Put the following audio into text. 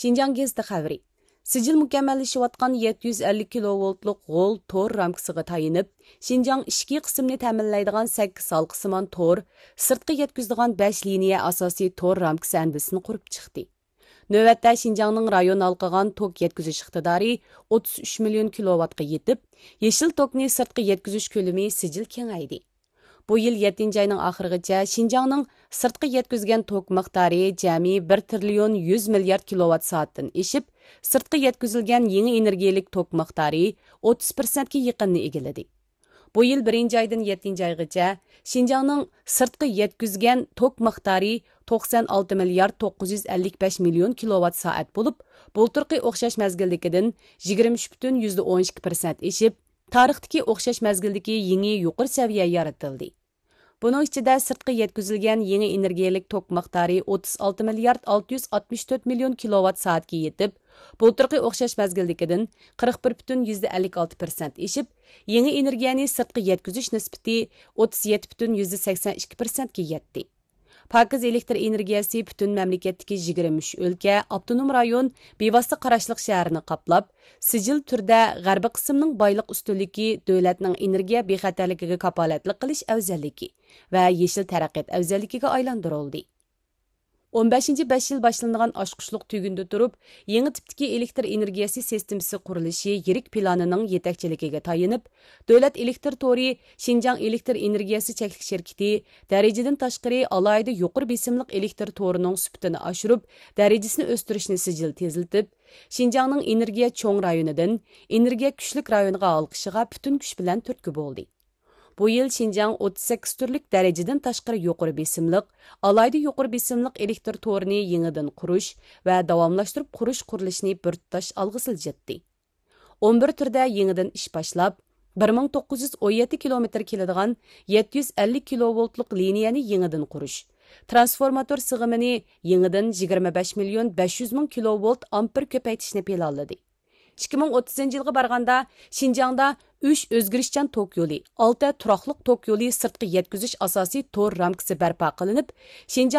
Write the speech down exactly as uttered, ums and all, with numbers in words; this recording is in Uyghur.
شىنجاڭ گېزىتى خەۋىرى. سىجىل مۇكەممەللىشىۋاتقان يەتتە يۈز ئەللىك كىلوۋولتلۇق غول تور رامكىسىغا تايىنىپ، شىنجاڭ ئىچكى قىسىمنى تەمىنلەيدىغان سەككىز ھالقىسىمان تور سىرتقا يەتكۈزىدىغان بەش لىنىيە ئاساسىي تور رامكىسى ئەندىزىسىنى قۇرۇپ چىقتى. نۆۋەتتە شىنجاڭنىڭ رايون ھالقىغان توك يەتكۈزۈش ئىقتىدارى ئوتتۇز ئۈچ مىليون كىلوۋاتقا يېتىپ، يېشىل توكنى سىرتقا يەتكۈزۈش كۆلىمى سىجىل كېڭەيدى. بۇ يىل يەتتىنچى ئاينىڭ ئاخىرىغىچە شىنجاڭنىڭ سىرتقا يەتكۈزگەن توك مىقدارى جەمئىي بىر تىرىليون يۈز مىليارد كىلوۋات سائەتتىن ئېشىپ، سىرتقا يەتكۈزۈلگەن يېڭى ئېنېرگىيىلىك توك مىقدارى ئوتتۇز پىرسەنتكە يېقىننى ئىگىلىدى. بۇ يىل بىرىنچى ئايدىن يەتتىنچى ئايغىچە شىنجاڭنىڭ سىرتقا يەتكۈزگەن توك مىقدارى توقسان ئالتە مىليارد توققۇز يۈز ئەللىك بەش مىليون كىلوۋات سائەت بولۇپ، بۇلتۇرقى ئوخشاش مەزگىلدىكىدىن يىگىرمە ئۈچ پۈتۈن يۈزدە ئون ئىككى پىرسەنت ئېشىپ، تارىختىكى ئوخشاش مەزگىلدىكى يېڭى يۇقىرى سەۋىيە يارىتىلدى. بۇنىڭ ئىچىدە سىرتقا يەتكۈزۈلگەن يېڭى ئېنېرگىيەلىك توك مىقدارى ئوتتۇز ئالتە مىليارد ئالتە يۈز ئاتمىش تۆت مىليون كىلوۋات سائەتكە يېتىپ، بۇلتۇرقى ئوخشاش مەزگىلدىكىدىن قىرىق بىر پۈتۈن يۈزدە ئەللىك ئالتە پىرسەنت ئېشىپ، يېڭى ئېنېرگىيەنى سىرتقا يەتكۈزۈش نىسبىتى ئوتتۇز يەتتە پۈتۈن يۈزدە سەكسەن ئىككى پىرسەنتكە يەتتى. پاكىز ئېلېكتر ئېنېرگىيەسى پۈتۈن مەملىكەتتىكى يىگىرمە ئۈچ ئۆلكە، ئاپتونوم رايون، بىۋاسىتە قاراشلىق شەھەرنى قاپلاپ، سىجىل تۈردە غەربىي قىسىمنىڭ بايلىق ئۈستۈنلۈكى، دۆلەتنىڭ ئېنېرگىيە بىخەتەرلىكىگە كاپالەتلىك قىلىش ئەۋزەللىكى ۋە يېشىل تەرەققىيات ئەۋزەللىكىگە ئايلاندۇرۇلدى. ئون بەشىنچى بەش يىل باشلىنىدىغان ئاچقۇچلۇق تۈگۈندە تۇرۇپ، يېڭى تىپتىكى ئېلېكتر ئېنېرگىيەسى سىستېمىسى قۇرۇلۇشى يىرىك پىلانىنىڭ يېتەكچىلىكىگە تايىنىپ، دۆلەت ئېلېكتر تورى شىنجاڭ ئېلېكتر ئېنېرگىيەسى چەكلىك شىركىتى دەرىجىدىن تاشقىرى ئالاھىدە يۇقىرى بېسىملىق ئېلېكتر تورىنىڭ سۈپىتىنى ئاشۇرۇپ، دەرىجىسىنى ئۆستۈرۈشنى سىجىل تېزلىتىپ، شىنجاڭنىڭ ئېنېرگىيە چوڭ رايونىدىن ئېنېرگىيە كۈچلۈك رايونىغا ھالقىشىغا پۈتۈن كۈچ بىلەن تۈرتكە بولدى. بۇ يىل شىنجاڭ ئوتتۇز سەككىز تۈرلۈك دەرىجىدىن تاشقىرى يۇقىرى بېسىملىق، ئالاھىدە يۇقىرى بېسىملىق ئېلېكتر تورىنى يېڭىدىن قۇرۇش ۋە داۋاملاشتۇرۇپ قۇرۇش قۇرۇلۇشىنى بىر تۇتاش ئالغا سىلجىتتى. ئون بىر تۈردە يېڭىدىن ئىش باشلاپ، بىر مىڭ توققۇز يۈز ئون يەتتە كىلومېتىر كېلىدىغان يەتتە يۈز ئەللىك كىلوۋولتلۇق لىنىيەنى يېڭىدىن قۇرۇش، ترانسفورماتور سىغىمىنى يېڭىدىن يىگىرمە بەش مىليون بەش يۈز مىڭ كىلوۋولت ئامپېر كۆپەيتىشنى پىلانلىدى. ئىككى مىڭ ئوتتۇزىنچى يىلغا بارغاندا، شىنجاڭدا ئۈچ ئۆزگىرىشچان توك يولى، ئالتە تۇراقلىق توك يولى سىرتقا يەتكۈزۈش ئاساسىي تور رامكىسى بەرپا قىلىنىپ، شىنجاڭ